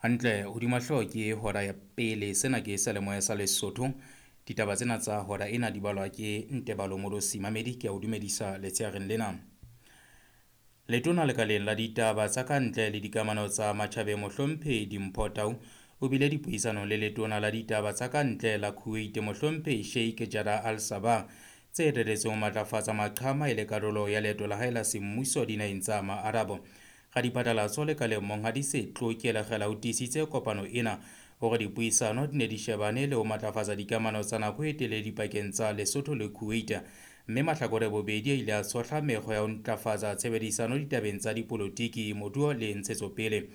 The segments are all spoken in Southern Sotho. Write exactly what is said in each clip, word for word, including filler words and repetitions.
Hantle hodima hlooho ke hora ya pele. Sena ke seyalemoya sa Lesotho. Ditaba tsena tsa hora ena di balwa ke Ntebalo Molosi Mamedi. Ke a o dumedisa letsheareng lena. Letona lekaleng la ditaba tsa ka ntle le dikamano tsa matjhabeng Mohlomphehi Dimpho Tau o bile dipuisanong le letona la ditaba tsa ka ntle la Kuwait Mohlomphehi Sheikh Jarrah Al-Sabah tse reretsweng ho matlafatsa maqhama e le karolo ya leeto la hae la semmuso dinaheng tsa Maarabo. Radiphatlalatso lekaleng Monghadi Setloke Lekgela o tiisitse kopano ena hore dipuisano di ne di shebane le ho matlafatsa dikamano tsa nako e telele dipakeng tsa Lesotho le Kuwait, mme mahlakore bobedi a ile a tshohla mekgwa ya ho ntlafatsa tshebedisano ditabeng tsa dipolotiki, moruo le ntshetsopele.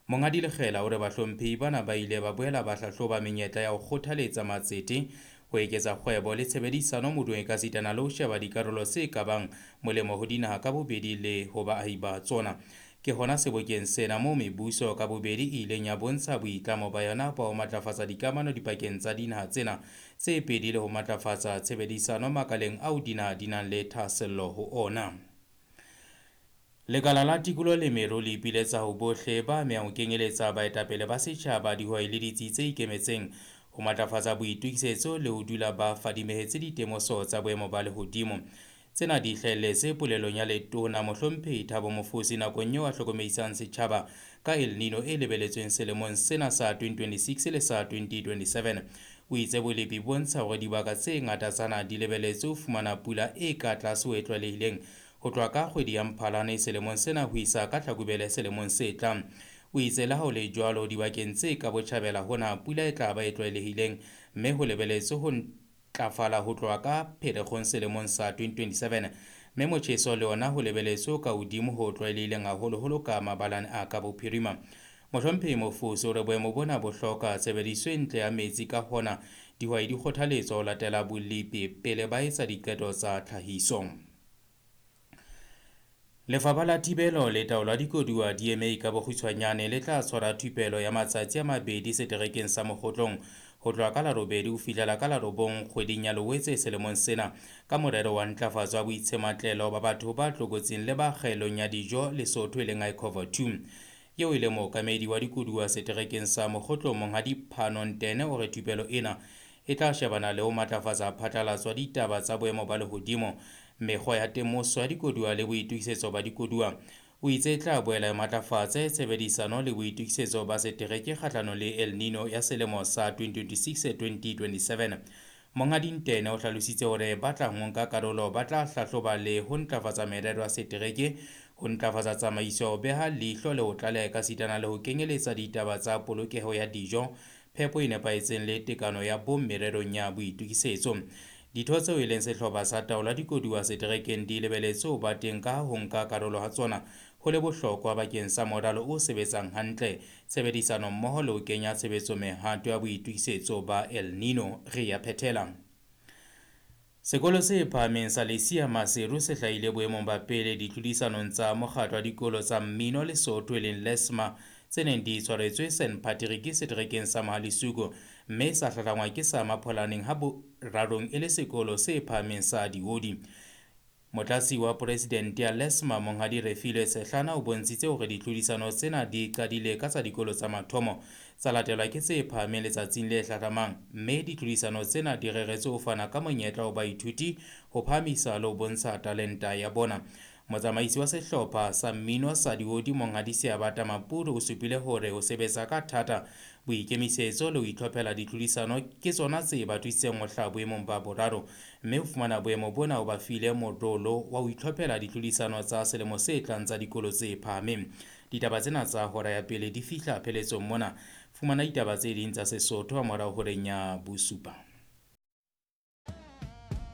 Monghadi Lekgela o re bahlomphehi bana ba ile ba boela ba hlahloba menyetla ya ho kgothaletsa matsete, ho eketsa kgwebo le tshebedisano moruong ekasitana le ho sheba dikarolo tse ka bang molemo ho dinaha ka bobedi le ho baahi ba tsona. Ke hona sebokeng sena moo mebuso ka bobedi e ileng ya bontsha boitlamo ba yona ba ho matlafatsa dikamano dipakeng tsa dinaha tsena tse pedi le ho matlafatsa tshebedisano makaleng ao dinaha di nang le thahasello ho ona. Lekala la tikoloho le meru le ipiletsa ho bohle ba amehang ho kenyeletsa baetapele ba setjhaba, dihwai le ditsi tse ikemetseng ho matlafatsa boitokisetso le ho dula ba fadimehetse ditemoso tsa boemo ba lehodimo. Tsena di hlahelletse polelong ya letona Mohlomphehi Thabo Mofosi nakong eo a hlokomedisang setjhaba ka El Nino e lebeletsweng selemong sena sa twenty twenty-six le sa twenty twenty-seven. O itse bolepi bo bontsha hore dibaka tse ngata tsa naha di lebeletse ho fumana pula e ka tlase ho e tlwaelehileng ho tloha ka kgwedi ya Mphalane selemong sena ho isa ka Hlakubele selemong se tlang. O itse le ha ho le jwalo dibakeng tse ka botjhabela hona pula e tla ba e tlwaelehileng mme ho lebeletswe ho ntlafala ho tloha ka Pherekgong selemong sa twenty twenty-seven, mme motjheso le ona ho lebeletswe ka hodimo ho tlwaelehileng haholoholo ka mabalane a ka bophirima. Mohlomphehi Mofosi o re boemo bona bo hloka tshebediso e ntle ya metsi, ka hona dihwai di kgothaletswa ho latela bolepi pele ba etsa diqeto tsa tlhahiso. Lefapha la Thibelo le Taolo ya Dikoduwa D M A ka bokgutshwanyane le tla tshwara thupelo ya matsatsi a mabedi seterekeng sa Mokgotlong ho tloha ka la robedi ho fihlela ka la robong kgweding ya Loetse selemong sena ka morero wa ntlafatso ya boitshematlelo ba batho ba tlokotsing le ba kgaelong ya dijo Lesotho e leng I C O V A two. Eo e leng mookamedi wa dikoduwa seterekeng sa Mokgotlong Monghadi Phano Ntene o re thupelo ena e tla shebana le ho matlafatsa phatlalatso ya ditaba tsa boemo ba lehodimo, mekgwa ya temoso ya dikoduwa le boitokisetso ba dikoduwa. O itse e tla boela e matlafatse tshebedisano le boitokisetso ba setereke kgahlanong le El Nino ya selemo sa twenty twenty-six twenty twenty-seven. Monghadi Ntene o hlalositse hore ba tla ho nka karolo ba tla hlahloba le ho ntlafatsa merero ya setereke, ho ntlafatsa tsamaiso, ho beha leihlo le ho tlaleha ekasitana le ho kenyeletsa ditaba tsa polokeho ya dijo, phepo e nepahetseng le tekano ya bong mererong ya boitokisetso. Ditho tseo e leng sehlopha sa taolo ya dikoduwa seterekeng di lebeletswe ho ba teng ka ho nka karolo ha tsona ho le bohlokwa bakeng sa moralo o sebetsang hantle, tshebedisano mmoho le ho kenya tshebetso mehato ya boitokisetso ba El Nino. Re ya phethela. Sekolo se phahameng sa Lesia Maseru se hlahile boemong ba pele ditlhodisanong tsa mokgatlo wa dikolo tsa mmino Lesotho e leng LESMA tse neng di tshwaretswe Saint Patrick seterekeng sa Mahalisuku, mme sa hlahlangwa ke sa Mapholaneng ha borarong e le sekolo se phahameng sa Diodi. Motlatsi wa presidente ya LESMA Monghadi Refilwe Sehlana o bontshitse hore ditlhodisano tsena di qadile ka tsa dikolo tsa mathomo, tsa latelwa ke tse phahameng letsatsing le hlahlamang, mme ditlhodisano tsena di reretswe ho fana ka monyetla ho baithuti ho phahamisa le ho bontsha talenta ya bona. Motsamaisi wa sehlopha sa mmino sa Diodi Monghadi Seabata Mapuru o supile hore ho sebetsa ka thata, boikemisetso le ho itlhophela ditlhodisano ke tsona tse ba thusitseng ho hlaha boemong ba boraro, mme ho fumana boemo bona ho ba file morolo wa ho itlhophela ditlhodisano tsa selemo se tlang tsa dikolo tse phahameng. Ditaba tsena tsa hora ya pele di fihla pheletsong mona. Fumana ditaba tse ding tsa Sesotho ha morao horeng ya bosupa.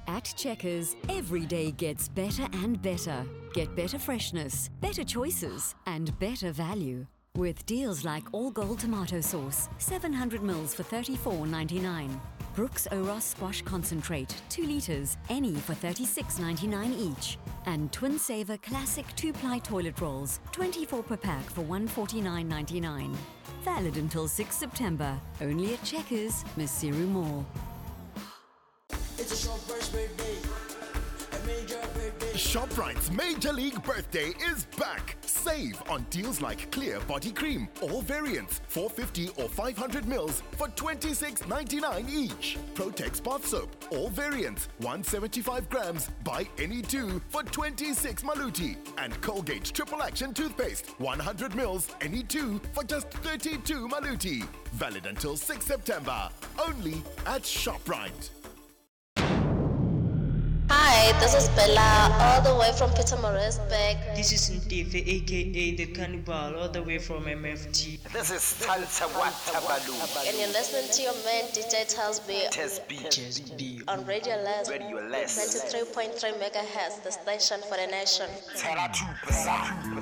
At Checkers, every day gets better and better. Get better freshness, better choices, and better value. With deals like All Gold tomato sauce, seven hundred mils for thirty-four ninety-nine. Brooks Oros squash concentrate, two litres, any for thirty-six ninety-nine each. And Twin Saver classic two-ply toilet rolls, twenty-four per pack for one forty-nine ninety-nine. Valid until sixth September. Only at Checkers, Maseru Mall. It's a short birthday, a major birthday. ShopRite's Major League Birthday is back. Save on deals like Clear Body Cream, all variants, four fifty or five hundred mils for twenty-six ninety-nine each. Protex Bath Soap, all variants, one seventy-five grams, buy any two for twenty-six maluti. And Colgate Triple Action Toothpaste, one hundred mils, any two for just thirty-two maluti. Valid until sixth September, only at ShopRite. Hi, this is Bella, all the way from Pietermaritzburg. This is Ntefe, aka The Cannibal, all the way from M F T. This is Salsa Watabalu. And you're listening to your man, D J Telsby. Telsby. Telsby. On Radio Less. Radio Less. ninety-three point three megahertz, the station for the nation. Tera two percent.